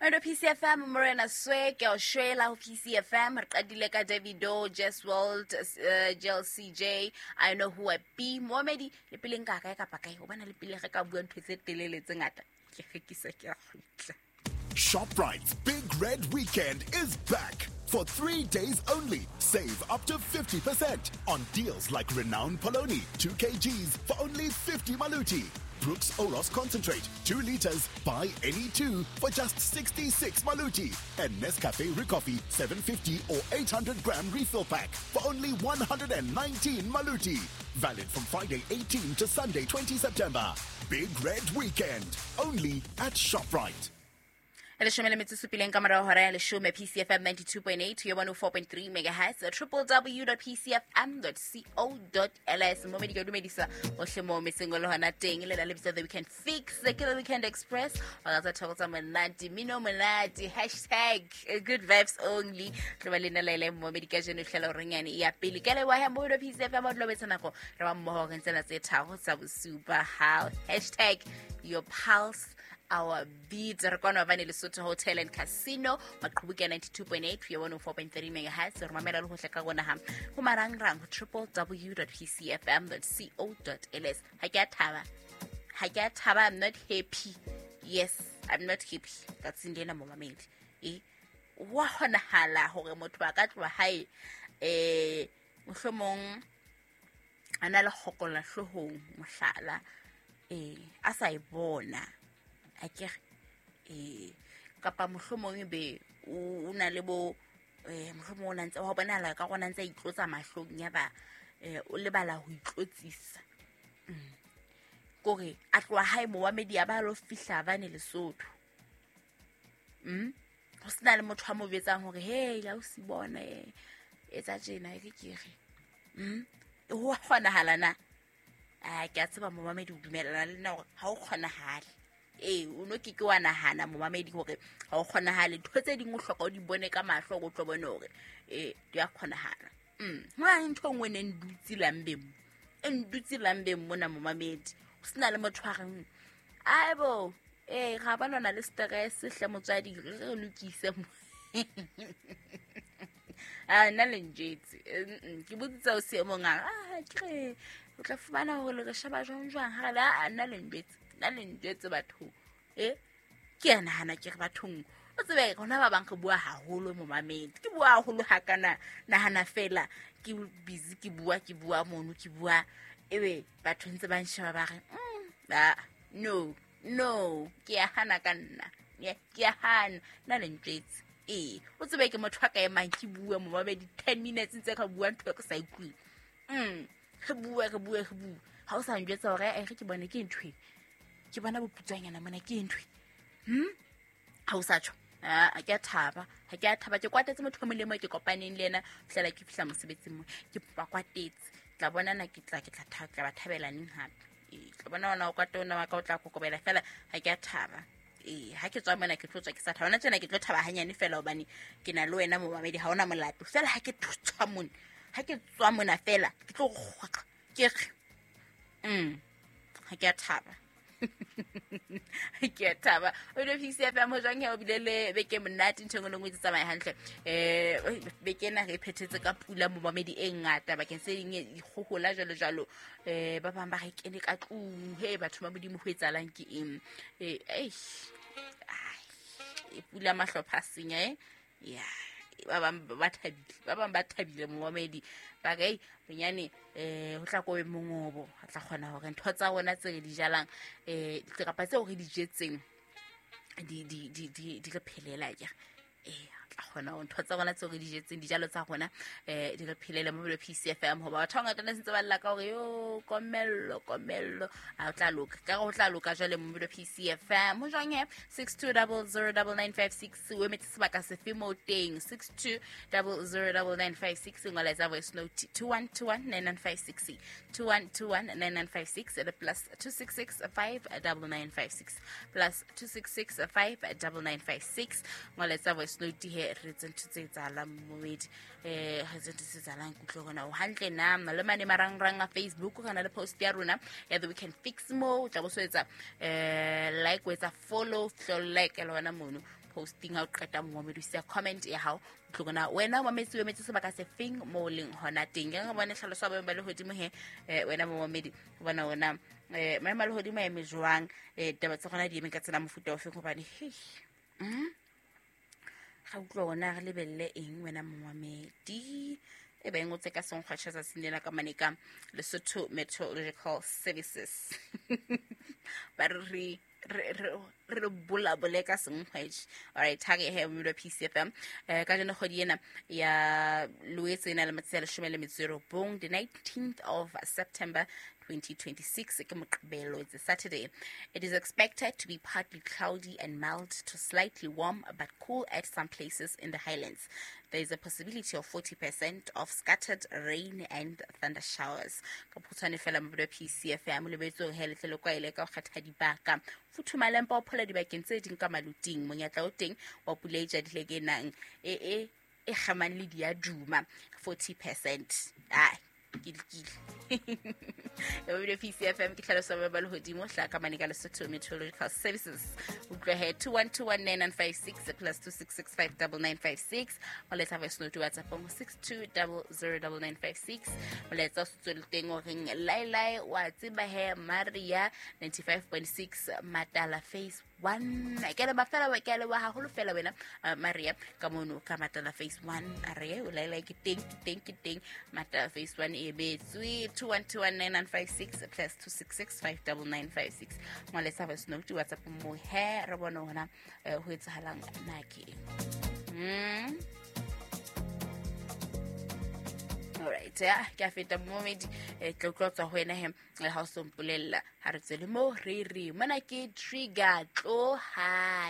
Ndo PCFM Morena Swe ke o shwela ho PCFM re qadile ka Davido, Jess World, JLCJ, I know who I be. Mohamedi le pele nka kae kapa kae o bana le pele re ka bua ntho tse telele tse ngata. Ke rekisa ke a kgutla. ShopRite's Big Red Weekend is back. For 3 days only, save up to 50% on deals like Renown Poloni, 2 kgs for only 50 maluti. Brooks Oros Concentrate, 2 liters, buy any two for just 66 maluti. And Nescafe Recoffee, 750 or 800 gram refill pack for only 119 maluti. Valid from Friday 18 to Sunday 20 September. Big Red Weekend, only at ShopRite. Leshome le metso e supileng ka morao hora ya leshome, PCFM 92.8 yo 104.3 megahertz, www.pcfm.co.ls. Mo medika dumedisa ohle mo metseng o le hona teng. Le la lebitsa The Weekend Fix, ke The Weekend Express. Wa tsa thoko tsa monate, mino monate, hashtag good vibes only. Tlo ba le nna le mo medika jeno hlela hore nyane ya pele. Ke le wa ha mo PCFM o dlo betsa nako re ba mmoho re ntsena tse tharo tsa bosupa. How hashtag your pulse our beat. Re kwana bane Lesotho Hotel and Casino, Maqhubu ke 92.8 yo 104.3 megahertz. Re mamela le hohle ka rona ha ho marangrang ho www.pcfm.co.ls. Ha ke a thaba, ha ke a thaba, I'm not happy. Yes, I'm not happy. Tsatsing lena mo mamedi e wa kgonahala hore motho a ka tloha hae mohlomong a na le kgokola hloohong, mohlala, a sa e bona akere, kapa mohlomong ebe o na le bo mohlomong o na ntse wa bonahala ka rona ntse a itlotsa mahlong ya ba o lebala ho itlotsisa. Kore a tloha hae momamedi a ba lo fihla bane Lesotho. Ho sena le motho a mo jwetsang hore hey la o si bone etsa tjena e re ke re. Ho kgonahala na? A ke a tseba momamedi o dumellana le nna hore ha o kgonahale. O no ke ke wa nahana momamedi hore ha o kgonahale. Ntho tse ding o hloka o di bone ka mahlo hore o tlo bone hore di a kgonahala. Ho na le ntho e nngwe e neng dutse lambeng mo. E ndutse lambeng mona momamedi. Ho sena le motho a reng, aibo, ga ba lwana le stress hle motswadi, re re lokise mo. A nna le njetse. Ke botsitse o se mong a re, ke re o tla fumana hore le re sheba jwang jwang. Ha re le, a nna le njetse. Nna le njetse bathong. Ke a nahana ke re bathong. O tsebe rona ba bang re bua haholo momamedi. Ke bua haholo ha kana nahana fela ke busy ke bua, ke bua mono, ke bua. Ebe batho ntse ba nsheba ba re, no, no, ke a hana ka nna. Ke a hana. Nna le njwetse. O tsebe ke motho a ka emang ke bua momamedi 10 minutes ntse re bua ntho e re sa utlweng. Re bua, re bua, re bua. Ha o sa njwetsa hore, re ke bone ke ntho e. Ke bona boputswanyana mona ke ntho e. Ha o sa tjho. Ha ke a thaba. Ha ke a thaba. Ke kwatetse motho o molemo ke kopaneng le yena, fihlela ke fihla mosebetsing mo. Ke ba kwatetse. Tla bona na ke tla, ke tla tha-, tla ba thabela neng hape. Tla bona ona o kwate ona wa ka o tla kokobela fela. Ha ke a thaba. Ha ke tswa mona ke tlo tswa ke sa thaba. Hona tjena ke tlo thaba hanyane fela hobane ke na le wena momamedi, ha ona molato. Fela ha ke tswa mona, ha ke tswa mona fela, ke tlo kgwaqa. Ke re, ha ke a thaba. Ke a thaba. O ile PCFM ho jwang he, o bile le beke monate, ntho e nngwe le nngwe e tsamaye hantle. Beke ena re phethetse ka pula momamedi e ngata bakeng se ding dikgohola jwalo jwalo. Ba bang ba re kene ka tlung, he batho ba Modimo ho etsahalang ke eng? Eish. Ai, e pula mahlopha a senya, Ya, ba bang ba thabile, ba bang ba thabile momamedi. Ba re, ei, bonyane, ho tla ko be mongobo, re tla kgona hore ntho tsa rona tse re di jalang, kapa tseo re di jetseng, di re phelela akere. Re tla kgona hore ntho tsa rona tseo re di jetseng, dijalo tsa rona, di re phelele mo PCFM. Hoba batho ba bangata ne sentse ba lla ka hore, yo, komello, komello. Ha o tla loka. Ka hore ho tla loka jwale mo PCFM. Ho jwang he? Six two double zero double nine five six. O emetse sebaka sefe moo teng? Six two double zero double nine five six. Ngola etsa voice note. 2121 9956. 2121 9956. Le plus two six six five double nine five six. Plus two six six five double nine five six. Ngola etsa voice note he. Re etse ntho tse etsahalang momedi, re etse ntho tse etsahalang. Kutlwe gona o hantle na le mane marangrang a Facebook, re na le post ya rona ya The Weekend Fix, mo o tla bo so etsa like, o etsa follow, tlo like le hona mono posting. Ha o qeta, momedi, o siya comment ya hao, utlwe gona wena o mametse, o emetse sebaka se feng mo o leng hona teng. Ke re bone tlhaloso ya boemo ba lehodimo he. Wena momamedi, o bona ona maemo a lehodimo a eme jwang? Ditaba tsa gona di eme ka tsela mofuta o feng? Gobane hei, ga utlwa ona re lebelele eng, wena momamedi? E ba e ngotse ka senkgwatšha tsatsing lena ka mane ka Lesotho Meteorological Services, ba re re bolabole ka senkgwetše. Alright, ha re he mmilo PCFM ka jeno kgwedi ena ya Loetse e na le matsatsi a 19, the 19th of September 2026, ke Moqebelo, it's a Saturday. It is expected to be partly cloudy and mild to slightly warm but cool at some places in the highlands. There is a possibility of 40% of scattered rain and thunder showers. Ka phutshwane fela, mabelo PCFM, lebetse hore he letle le kwaele ka ho kgetha dibaka, futhumala empa o phola dibakeng tse ding ka maluting. Monyetla o teng wa pula e jadile ke nang e kgamang le diaduma, 40%. Ai, ke lekile ebile PCFM ke tlhaloso ba lehodimo hla ka mane ka Lesotho Meteorological Services. Utlwe he, 21219956 plus 26659956. Molaetsa voice note WhatsAppong 62009956. Molaetsa o se tswele teng o reng laelae wa tseba he, Maria 95.6 Matala Phase 1. Ke leba fela, ke a leboha haholo fela wena, Maria ka mono ka Matala Phase 1. A re o laelae, ke teng, ke teng, ke teng Matala Phase 1 e betswe. 21219956 plus 26659956. Molaetsa voice note WhatsApp mo he, re bone hona ho etsahalang na ke eng. Alright, ya ke a feta momedi, tla utlwa tswa ho wena he, ha o so mpolella. Ha re tswele mo re re mona ke Trigger, tlo hae.